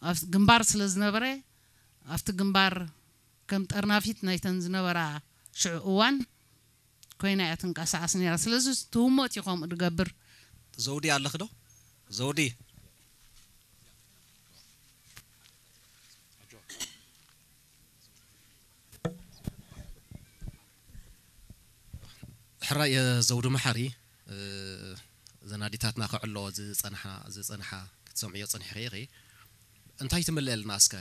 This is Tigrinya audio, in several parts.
ኣብ ግንባር ስለ ዝነበረ ኣብቲ ግንባር ከም ጠርናፊት ናይተን ዝነበራ ሽዑ እዋን ኮይና እያ ትንቀሳቐስ ነይራ። ስለዚ ትህሞት እዩ ከምኡ ዝገብር። ዘውዲ ኣለኺ ዶ? ዘውዲ። ሕራይ ዘውዱ መሓሪ፣ ዘናዲታትና ክዕሎ ዝጸንሓ ዝጸንሓ ክትሰምዕዮ ጸኒሕኺ ኢኺ። እንታይ ትምልእልና እስከ?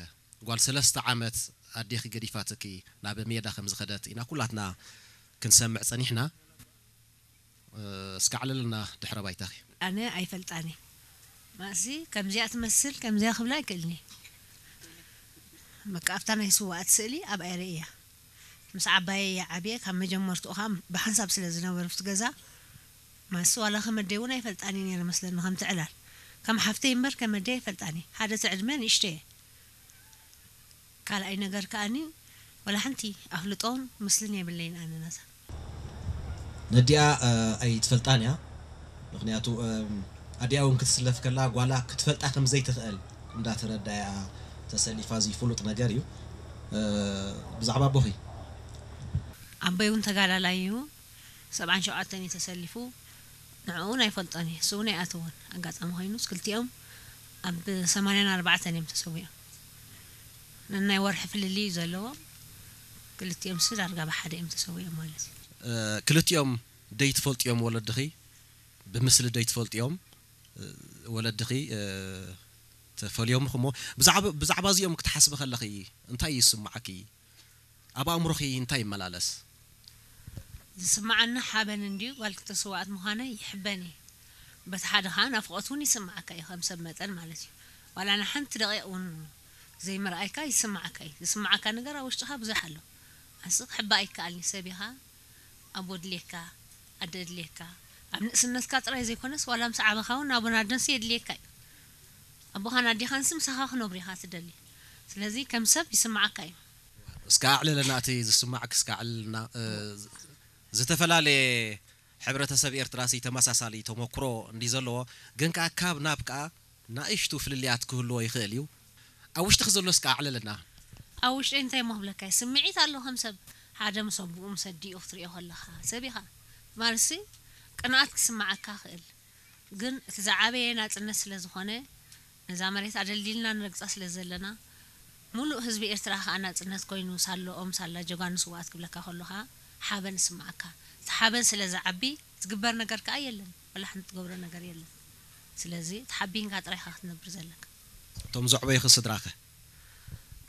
ጓል ሰለስተ ዓመት ኣዴኺ ገዲፋትኪ ናብ ሜዳ ከም ዝኸደት ኢና ኩላትና ክንሰምዕ ጸኒሕና። እስከ ኣዕልልና ድሕረ ባይታኺ። ኣነ ኣይፈልጣኒ። ማእሲ ከምዚኣ ትመስል ከምዚኣ ክብላ ኣይክእልኒ። በቃ ኣብታ ናይ ስዋኣት ስእሊ ኣብ ኣይረ እያ። ምስ ዓባየ እያ ዓብየ። ካብ መጀመርትኡ ከዓ ብሓንሳብ ስለ ዝነበሩ ኣብቲ ገዛ ማእሲ ዋላ ከመደይ እውን ኣይፈልጣኒ ነይረ መስለኒ። ከምቲ ዕላል ከም ሓፍተይ እምበር ከመደይ ኣይፈልጣኒ። ሓደ ትዕድመ ንእሽተየ። ካልኣይ ነገር ከኣኒ ወላ ሓንቲ ኣፍልጦን ምስልን የብለይን ኣነ ናታ። ነዲኣ ኣይትፈልጣን እያ። ምክንያቱ ኣዲኣ እውን ክትስለፍ ከላ ጓላ ክትፈልጣ ከም ዘይትኽእል እንዳተረዳያ ተሰሊፋ እዚ ፍሉጥ ነገር እዩ። ብዛዕባ ኣቦኺ? ኣቦይ እውን ተጋዳላይ እዩ። ሰብዓን ሸውዓተን እዩ ተሰሊፉ። ንዕኡ እውን ኣይፈልጦን እየ። እሱ እውን ኣይኣተወን። ኣጋጣሚ ኮይኑ ክልቲኦም ኣብ ሰማንያን ኣርባዕተን እዮም ተሰዊኦም። ነናይ ወርሒ ፍልልይ እዩ ዘለዎም። ክልቲኦም ሲ ዳርጋ ብሓደ እዮም ተሰዊኦም ማለት እዩ። ክልቲኦም ደይ ትፈልጥዮም ወለድኺ? ብምስሊ ደይ ትፈልጥዮም ወለድኺ? ተፈልዮም እሞ ብዛዕባ እዚኦም ክትሓስቢ ከለኺ እንታይ ይስምዓኪ? ኣብ ኣእምሮኺ እንታይ ይመላለስ? ዝስምዓኒ ሓበን እንድዩ፣ ጓል ክልተ ስውኣት ምዃነይ ይሕበን እየ። በቲ ሓደ ኸኣ ናፍቖት እውን ይስምዓካ እዩ፣ ከም ሰብ መጠን ማለት እዩ። ዋላ ንሓንቲ ደቂቕ እውን ዘይምርኣይካ ይስምዓካ እዩ። ዝስምዓካ ነገር ኣብ ውሽጥኻ ብዙሕ ኣሎ። ኣንስ ክሕባእ ኣይከኣልኒ፣ ሰብ ኢኻ፣ ኣቦ ድልየካ፣ ኣደ ድልየካ። ኣብ ንእስነትካ ጥራይ ዘይኮነስ ዋላ ምስ ዓበኻ እውን ኣቦን ኣደንሲ የድልየካ እዩ። ኣቦኻን ኣዴኻንሲ ምሳኻ ክነብሩ ኢኻ ትደሊ። ስለዚ ከም ሰብ ይስምዓካ እዩ። እስከ ኣዕልለና፣ እቲ ዝስማዕክ እስከ ኣዕልልና። እ፣ ዝተፈላለየ ሕብረተሰብ ኤርትራሲ ተመሳሳሊ ተመክሮ እንዲ ዘለዎ፣ ግን ከኣ ካብ ናብ ከኣ ናእሽቱ ፍልልያት ክህልዎ ይኽእል እዩ። ኣብ ውሽጥኺ ዘሎ እስከ ኣዕልልና። ኣብ ውሽጠይ እንታይ እሞ ክብለካ እዩ? ስምዒት ኣሎ ከም ሰብ። ሓደ ምስ ኣቦኡ ምስ ኣዲኡ ክትሪኦ ከለኻ ሰብ ኢኻ። ማለትሲ ቅንኣት ክስምዓካ ክእል። ግን እቲ ዝዓበየ ናጽነት ስለ ዝኾነ፣ ነዛ መሬት ኣደልዲልና ንረግጻ ስለ ዘለና፣ ሙሉእ ህዝቢ ኤርትራ ከኣ ናጽነት ኮይኑ ሳሎኦም ሳላ ጀጋኑ ስውኣት ክብለካ ከሎ ከኣ ሓበን ይስምዓካ። እቲ ሓበን ስለ ዝዓቢ ዝግበር ነገር ከኣ የለን። ወላ ሓንቲ ትገብሮ ነገር የለን። ስለዚ ተሓቢንካ ጥራይ ኢኻ ክትነብር ዘለካ። እቶም ዘዕበዩኺ ስድራኸ?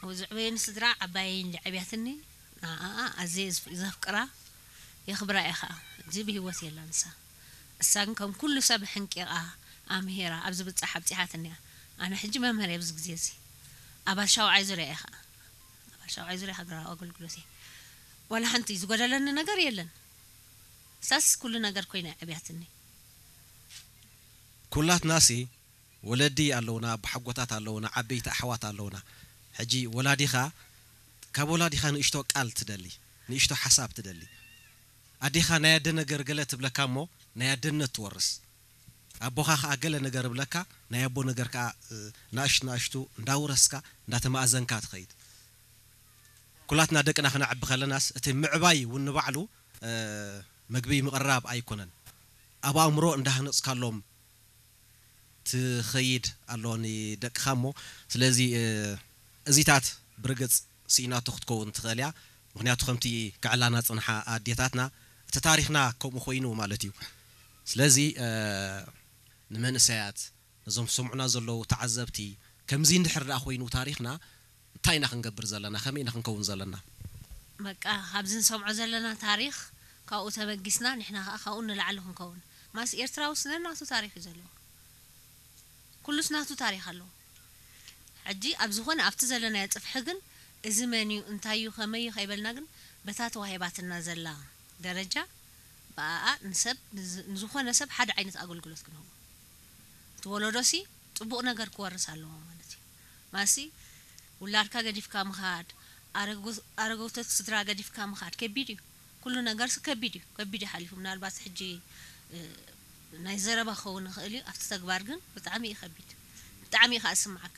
ኣብ ዘዕበዩኒ ስድራ ዓባየይ እንዲ ዓብያትኒ፣ ንዓኣ ኣዝየ ዘፍ-፣ ዘፍቅራ፣ የኽብራ እየ ኸኣ። እዚ ብህይወት የላን ንሳ። እሳ ግን ከም ኩሉ ሰብ ሕንቂቓ፣ ኣምሂራ፣ ኣብ ዝብጻሕ ኣብጺሓትኒ እያ። ኣነ ሕጂ መምህር እየ ኣብዚ ግዜ እዚ። ኣባል ሻውዓይ ዙርያ እየ ኸኣ። ኣባል ሻውዓይ ዙርያ ሃገራዊ ኣገልግሎት እየ። ዋላ ሓንቲ ዝጎደለኒ ነገር የለን። እሳስ ኩሉ ነገር ኮይና እያ ዓብያትኒ። ኩላትናሲ ወለዲ ኣለውና፣ ኣቦሓጎታት ኣለውና፣ ዓበይቲ ኣሕዋት ኣለውና። ሕጂ ወላዲኻ፣ ካብ ወላዲኻ ንእሽቶ ቃል ትደሊ፣ ንእሽቶ ሓሳብ ትደሊ። ኣዴኻ ናይ ኣደ ነገር ገለ ትብለካ እሞ ናይ ኣደነት ትወርስ። ኣቦኻ ከኣ ገለ ነገር እብለካ፣ ናይ ኣቦ ነገር ከኣ፣ እ፣ ናእሽቱ ናእሽቱ እንዳውረስካ፣ እንዳተማእዘንካ ትኸይድ። ኩላትና ደቅና ክነዕቢ ከለናስ እቲ ምዕባይ እውን ንባዕሉ፣ እ፣ መግቢ ምቕራብ ኣይኮነን። ኣብ ኣእምሮ እንዳሃነጽካሎም ትኸይድ ኣሎ ንደቅኻ እሞ፣ ስለዚ፣ እ፣ እዚታት ብርግጽ ስኢናቶ ክትከውን ትኽእል እያ። ምኽንያቱ ከምቲ ክዕላና ዝጸንሓ ኣዴታትና፣ እቲ ታሪኽና ከምኡ ኮይኑ ማለት እዩ። ስለዚ፣ እ፣ ንመንእሰያት፣ ነዞም ዝሰምዑና ዘለዉ ተዓዘብቲ፣ ከምዚ እንድሕር ደኣ ኮይኑ ታሪኽና፣ እንታይ ኢና ክንገብር ዘለና? ከመይ ኢና ክንከውን ዘለና? በቃ፣ ካብዚ ንሰምዖ ዘለና ታሪኽ፣ ካብኡ ተበጊስና፣ ንሕና ኸኣ ካብኡ ንላዕሊ ክንከውን። ማስ ኤርትራውስ ነናቱ ታሪኽ እዩ ዘለዎ። ኩሉስ ናቱ ታሪኽ ኣለዎ። ሕጂ ኣብ ዝኾነ ኣብቲ ዘለናዮ ጽፍሒ ግን እዚ መን እዩ፣ እንታይ እዩ፣ ከመይ እዩ ከይበልና ግን በታ ተዋሂባትና ዘላ ደረጃ ብኣኣ ንሰብ፣ ንዝ-፣ ንዝኾነ ሰብ ሓደ ዓይነት ኣገልግሎት ክንህቦ። እቲ ወለዶሲ ጽቡቕ ነገር ክወርስ ኣለዎ ማለት እዩ። ማሲ ውላድካ ገዲፍካ ምኻድ፣ ኣረጎ-፣ ኣረጎቶት ስድራ ገዲፍካ ምኻድ ከቢድ እዩ። ኩሉ ነገርሲ ከቢድ እዩ። ከቢድ እዩ ሓሊፉ። ምናልባት ሕጂ፣ እ፣ ናይ ዘረባ ክኸውን ይኽእል እዩ። ኣብቲ ተግባር ግን ብጣዕሚ እዩ ከቢድ። ብጣዕሚ እዩ ከኣ ዝስምዓካ።